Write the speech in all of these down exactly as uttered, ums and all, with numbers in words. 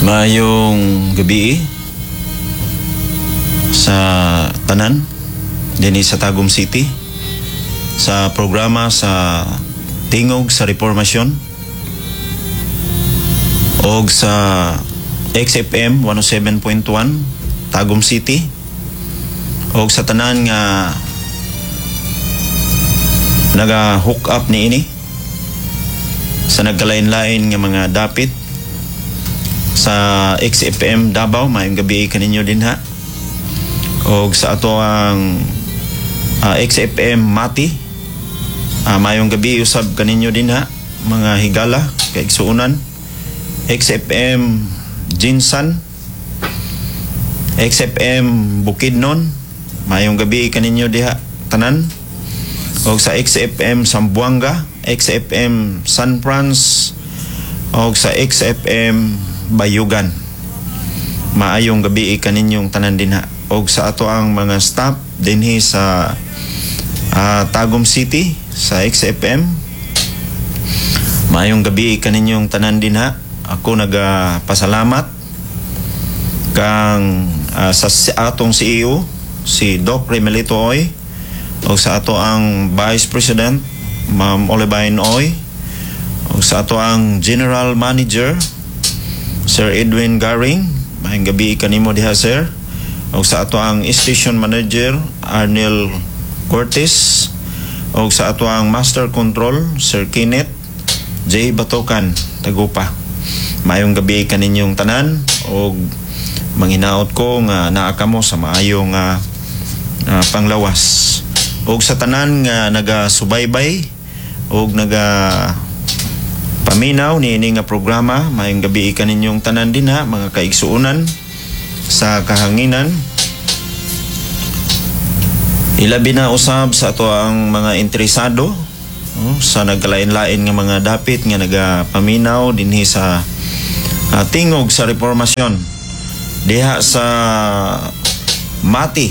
Maayong gabi sa tanan dinhi sa Tagum City sa programa sa Tingog sa Reformasyon og sa X F M one oh seven point one Tagum City og sa tanan nga naga hook up niini sa nagkalain-lain nga mga dapit sa X F M Davao. Maayong gabi kaninyo dinha og sa ato ang ah, X F M Mati. uh, maayong gabi usab kaninyo dinha, mga higala kaigsuonan. X F M GenSan, X F M Bukidnon, maayong gabi kaninyo diha tanan og sa X F M Zamboanga, X F M San Franz og sa X F M Bayugan. Maayong gabi kaninyong tanan dinha og sa ato ang mga staff dinhi sa ah, Tagum City sa X F M. Maayong gabi kaninyong tanan dinha. Ako nagapasalamat kang ah, sa si- atong C E O, si Doc Remelito Oy, o sa ato ang Vice President, Ma'am Olivine Oy, o sa ato ang General Manager, Sir Edwin Garing. Maayong gabi kanimo diha, sir. O sa ato ang Station Manager, Arnel Cortez, o sa ato ang Master Control, Sir Kenneth J. Batokan Tagupa. Maayong gabi kaninyong tanan og manghinaot ko nga naa kamo sa maayong nga ah, panglawas. Og sa tanan nga nagasubaybay og naga paminaw niini nga programa, maayong gabi kaninyong tanan dinha, mga kaigsuonan sa kahanginan. Ilabi na usab sa ato ang mga interesado, oh, sa nagkalain-lain nga mga dapit nga nagapaminaw dinhi sa ah, Tingog sa Reformasyon diha sa Mati,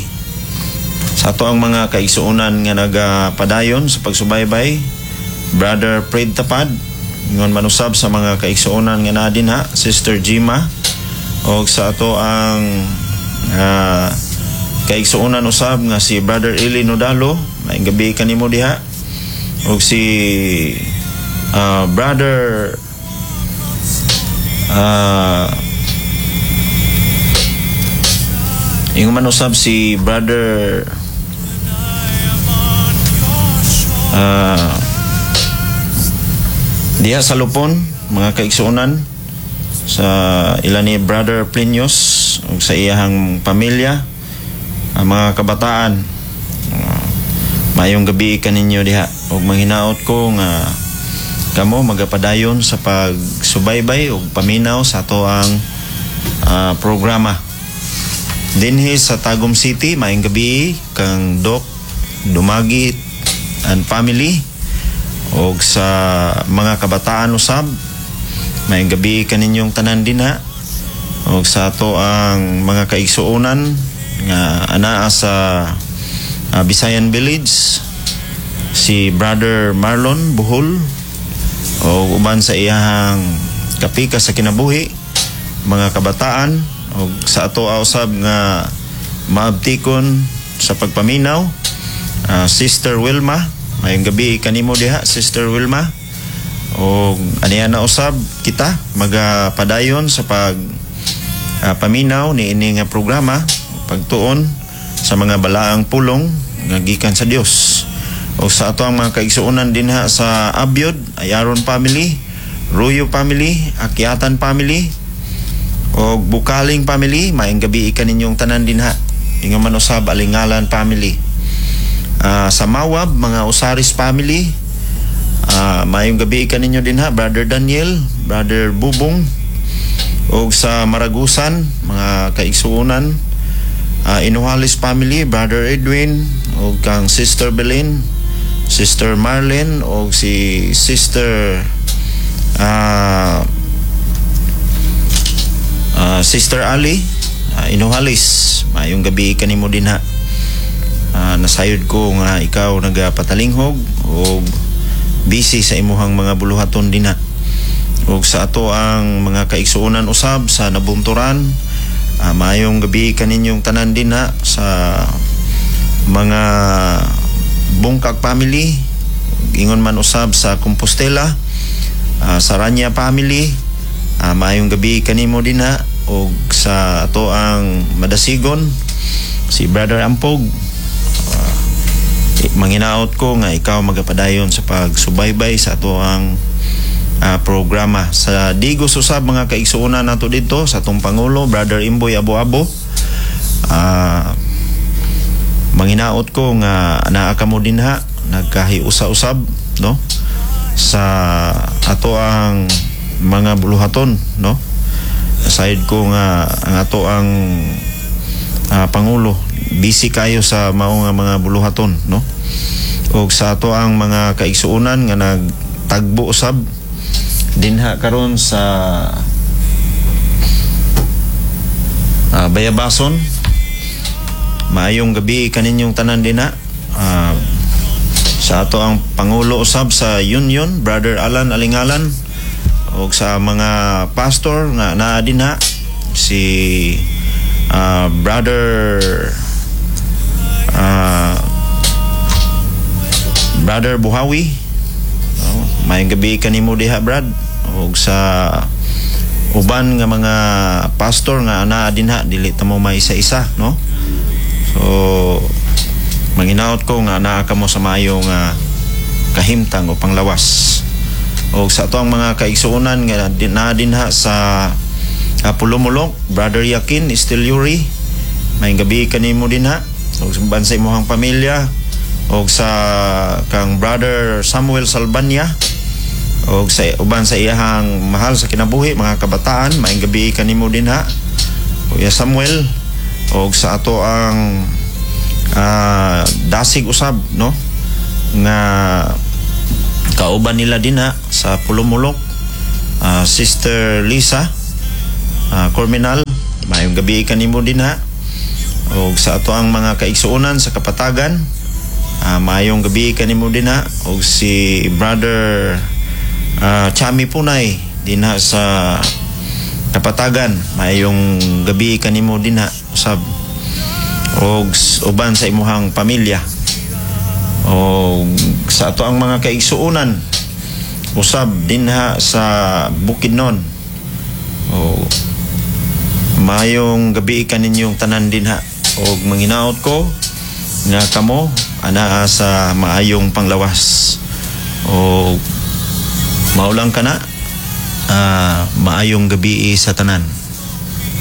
sa ato ang mga kaigsuonan nga nagapadayon sa pagsubaybay, Brother Fred Tapad, ingon man usab sa mga kaigsuonan nga naa dinha, Sister Jima, og sa ato ang ah, kaigsuonan usab nga si Brother Eli Nodalo, maayong gabi kanimo diha, og si ah, Brother ah ingon man usab si Brother ah diha sa Lupon, mga kaigsuonan sa ila ni Brother Plinius ug sa iyahang pamilya, ang mga kabataan. uh, maayong gabi kaninyo diha ug manghinaot ko nga kamo magapadayon sa pagsubaybay ug paminaw sa ato ang ah, programa dinhi sa Tagum City. Maayong gabi kang Doc Dumagit and family og sa mga kabataan usab, maayong gabi kaninyong tanan dinha og sa ato ang mga kaigsuonan nga anaa sa ah, Bisayan Village, si Brother Marlon Buhol o uban sa iyahang kapika sa kinabuhi, mga kabataan, og sa ato usab nga maabtikon sa pagpaminaw, ah, Sister Wilma. Maayong gabi kanimo diha, Sister Wilma. Og aniya na usab kita magapadayon sa pag ah, paminaw niini nga programa, pagtuon sa mga balaang pulong nga gikan sa Dios. O sa ato ang mga kaigsuonan dinha sa Abyod, Ayaron family, Ruyo family, Akyatan family, o Bukaling family, maayong gabi kaninyong tanan dinha. Ingon man usab Alingalan family. Ah, sa Mawab, mga Osaris family, ah, maayong gabi kaninyo dinha, Brother Daniel, Brother Bubong, og sa Maragusan, mga kaigsuonan, uh, Inuhalis family, Brother Edwin, og kang Sister Belin, Sister Marlene, og si Sister ah ah, Sister Ali uh, Inuhalis, maayong gabi kanimo dinha. Ah, nasayod ko nga ikaw nagapatalinghog og busy sa imuhang mga buluhaton dinha. Ug sa ato ang mga kaigsuonan usab sa Nabunturan, uh, maayong gabi kaninyong tanan dinha sa mga Bungkag family, ingon man usab sa Compostela, uh, sa Ranya family, uh, maayong gabi kanimo dinha. Ug sa ato ang Madasigon, si Brother Ampog, uh, manginaot ko nga ikaw magapadayon sa pagsubaybay sa ato ang uh, programa. Sa Digos usab, mga kaigsuonan nato dito sa atong pangulo, Brother Imboy Abo-Abo, uh, manginaot ko nga naa kamo dinha nagkahiusa-usab, no, sa ato ang mga buluhaton, no. Aside ko nga ang ato ang uh, pangulo busy kayo sa mao nga mga buluhaton, no. Ug sa ato ang mga kaigsuonan nga nagtagbo usab dinha karon sa uh, Bayabason, maayong gabi kaninyong tanan dinha. Uh, sa ato ang pangulo usab sa Union, Brother Alan Alingalan, ug sa mga pastor nga naa dinha, si uh, Brother uh, Brother Buhawi, oh, maayong gabi kanimo diha, Brad, ug sa uban nga mga pastor nga naa dinha, dili ta mo maisa-isa, no. So manginaot ko nga naa kamo sa maayong uh, kahimtang o panglawas. Og sa ato ang mga kaigsuonan nga naa dinha sa uh, Pulumulok, Brother Yakin Stilyuri, maayong gabi kanimo dinha ug uban sa imong pamilya. Og sa kang Brother Samuel Salbanya og sa uban sa iyahang mahal sa kinabuhi, mga kabataan, maayong gabi kanimo dinha, Kuya Samuel. Og sa ato ang uh, dasig usab, no, nga kauban nila dinha sa Pulumulok, uh, Sister Lisa uh, Corminal, maayong gabi kanimo dinha. Og sa ato ang mga kaigsuonan sa Kapatagan, uh, maayong gabi kanimo dinha. Og si Brother uh, Chami Punay dinha sa Kapatagan, maayong gabi kanimo dinha usab og uban sa imuhang pamilya. Og sa ato ang mga kaigsuonan usab dinha sa Bukidnon, o maayong gabi kaninyong tanan dinha. Og manginaot ko nga kamo anaa sa maayong panglawas. Og maulang kana, uh, maayong gabi sa tanan.